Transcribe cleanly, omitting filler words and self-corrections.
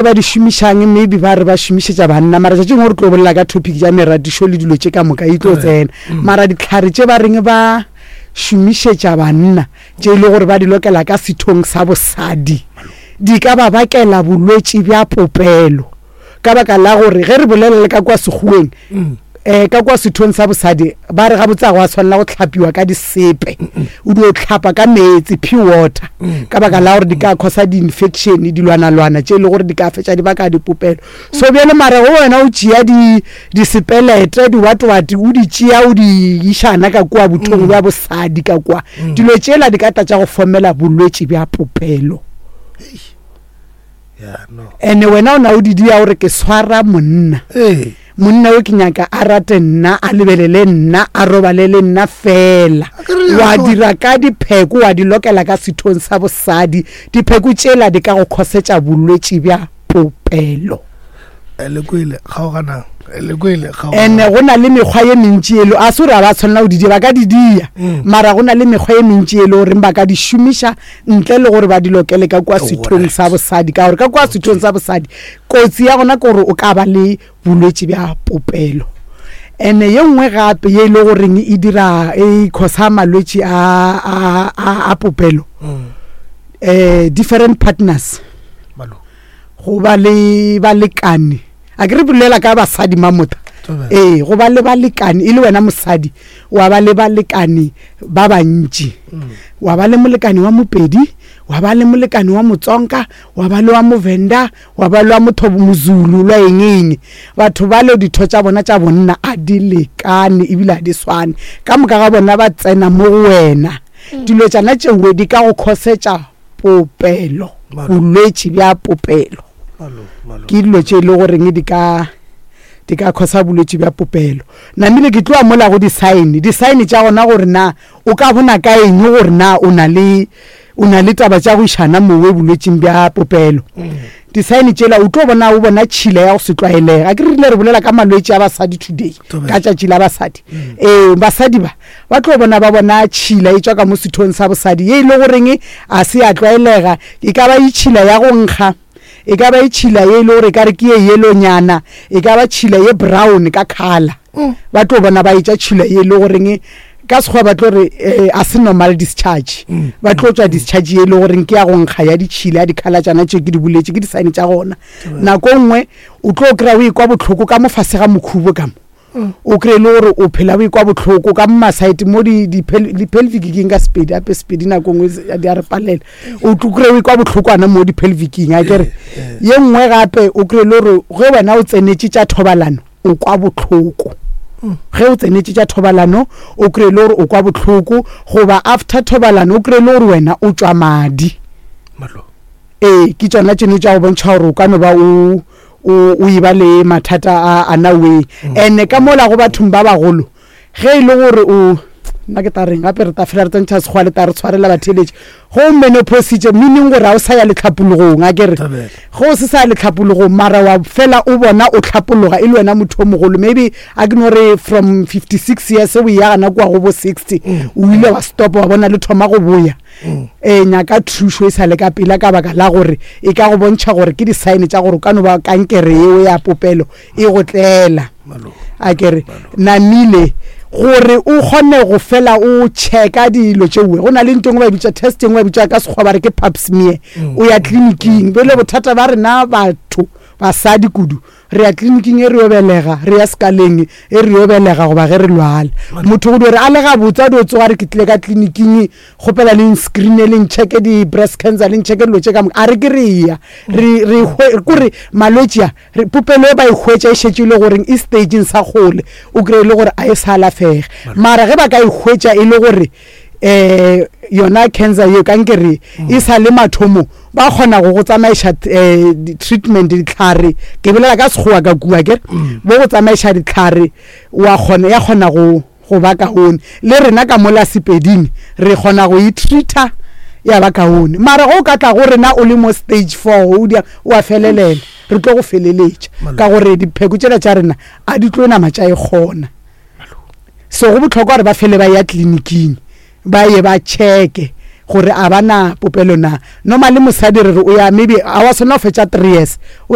Ba di šomišang maybe ba re ba šomišetša banna mara tšatši lengwe re tlo bolela ka topic ya meratišo le dilo tše ka moka e tlo tsena mara ditlhare tše ba reng ba šomišetša banna tše e le gore ba di lokela ka sethong sa bosadi di ka ba bakela bolwetši bja popelo ka baka la gore ge re bolela le ka kua sekgoweng um ka kua sethong sa bosadi ba re gabotse ga go a tshwanela go tlhapiwa ka disepe o dio tlhapa ka meetse pure water ka baka la gore di ka causa di-infection dilwanalwana tše e le gore di ka fetša di baka dipopelo so bjale mara go wena o tšea disepelete diwatwate o di tšea o di išana ka kua bothong bja bosadi ka kua dilo tšela di ka tla tša go fomela bolwetši bja popelo ene wena o na o di dia gore ke swara monna ee. monna o ke nyaka a rate nna a lebelele nna a robale le nna fela wa dira ka dipheko wa di lokela ka sethong sa bosadi dipheko tšela di ka go khosetša bolwetši bja popelo ene go na le mekgwa ye mentši elo a se gore a ba tshwanela go di dia ba ka di dia mm. mara go na le mekgwa ye mentši e le goreng ba ka di šomiša ntle le gore ba di lokele ka kua sethong sa bosadi ka gore ka kua sethong sa bosadi kotsi ya gona ke gore o ka ba le bolwetši bja popelo ene ye nngwe gape ye e le goreng e dira e khosa malwetši a, a, a, a popelo mm. eh, different partners go ba le balekane a ke re bolela ka basadi mamota ee go ba le balekane e le wena mosadi wa ba le balekane ba bantši mm. wa ba le molekane wa mopedi wa ba le molekane wa motsonka wa ba le wa movenda wa ba le wa motho mozulu lwa eng eng batho ba le ditho tša bona tša bonna a di lekane ebile a di swane ka moka ga bona ba tsena mo go wena mm. dilo tšana tšewe di ka go khosetša popelo bolwetši bja popelo ke dilo tše e le goreng di ka di ka khosa bolwetši bja popelo namile ke tloa mola go di-sign di-sign tša gona gore na o ka bona ka eng gore na o na le o na le taba tša go išana mowe bolwetšing bja popelo mm. Disaene tšela o tlo bona o bona tšhila ya go se tlwaelege. A ke re rile re bolela ka malwetši a basadi today, ka tšatši la basadi. Mm. Ee, basadi ba ba tlo bona ba bona tšhila e tšwa ka mo sethong sa bosadi ye e le goreng a se ya tlwaelega. E ka ba e tšhila ya go nkga, e ka ba e tšhila ye e le gore e ka re ke ye yellow-nyana, e ka ba tšhila ye brown ka colour. Mm. Ba tlo bona ba etša tšhila ye e le goreng ka sekgowa ba tlo re eh, a se normal discharge mm. ba tlo tswa discharge ye e le goreng ke ya go nkga ya ditšhila ya dikhala tšana tše ke di boletše ke di-sign tša gona nako nngwe o tlo kry-a o ekwa bohloko ka mo fase ga mokhubo ka mo mm. o kry-e le gore o phela o ekwa bohloko ka mo masaete mo di-pelvic ke ka sepedi ape sepedi nako nngwe di a re palela o tlo kry-e o ekwa bohlokwana mo di-pelvicing a kere ye nngwe gape o kry-e le gore ge wena o tsenetše tša thobalano o kwa bohloko ge o tsenetše tša thobalano o kry-e le gore o kwa bohloko goba after thobalano o kry-e le gore wena o tšwa madi ee ke tšona tšeno tša go bontšha gore o ka no ba o o e ba le mathata a anaway mm. and ka mola go bathong ba bagolo Ge e le gore o, nna ke tla reng gape, re tla fela re tsentšha sekgowa le tla re tshwarela batheeletši. Ge o menopausitše, meaning gore ga o sa ya letlhapologong, a ke re? Ge o se sa ya letlhapologong, mara wa fela o bona o tlhapologa e le wena motho o mogolo, maybe a ke no re from 56 years o eya gana kua go bo 60, o ile wa stopa wa bona le thoma go boya. Ee, nyaka thušo e sa le ka pela ka baka la gore e ka go bontšha gore ke di-sign tša gore o ka no ba kankere yeo ya popelo e go tlela. A ke re namile gore o kgone go fela o checka dilo tšeoe go na le nto engwe ba e bitša test engwe ba e bitša ka sekgowa ba re ke pap smear mm. o ya tleliniking bele bothata ba rena batho basadi kudu re ya tleliniking e re yo belega re ya sekaleng e re yo belega goba ge re lwala motho go dio re a le gabotse a dio tsoga re ke tlile ka tleliniking kgopela le nscreene le nchecke di-breast cancer le nchecke dilo tše ka moka a re ke re ya re re kore malwetši a Re, popelo e ba e hwetša e šetše e le goreng e stageng sa kgole, o kry-e le gore a e sa alafege. Mara ge ba ka e hwetša e le gore um yona cancer yeo, kankere ye, e sa le mathomong, ba kgona go go tsamaiša um di-treatment, dihlare, ke bolela ka Sekgowa ka kua akere, bo go tsamaiša dihlare, wa kgona, ya kgona go. go ba kaone. Le rena ka mola Sepeding re kgona go e treater ya ba kaone. Mara ge o ka tla go rena o le mo stage four o dia o a felelela, re tlo go feleletša ka gore dipheko tšela tša rena a di tlo nama tša e kgona. So go bohlokwa gore ba fele ba ya tleliniking ba ye ba checke. Gore a ba na popelo na. Normally mosadi re re o ya maybe a wa swanela go fetša 3 years o.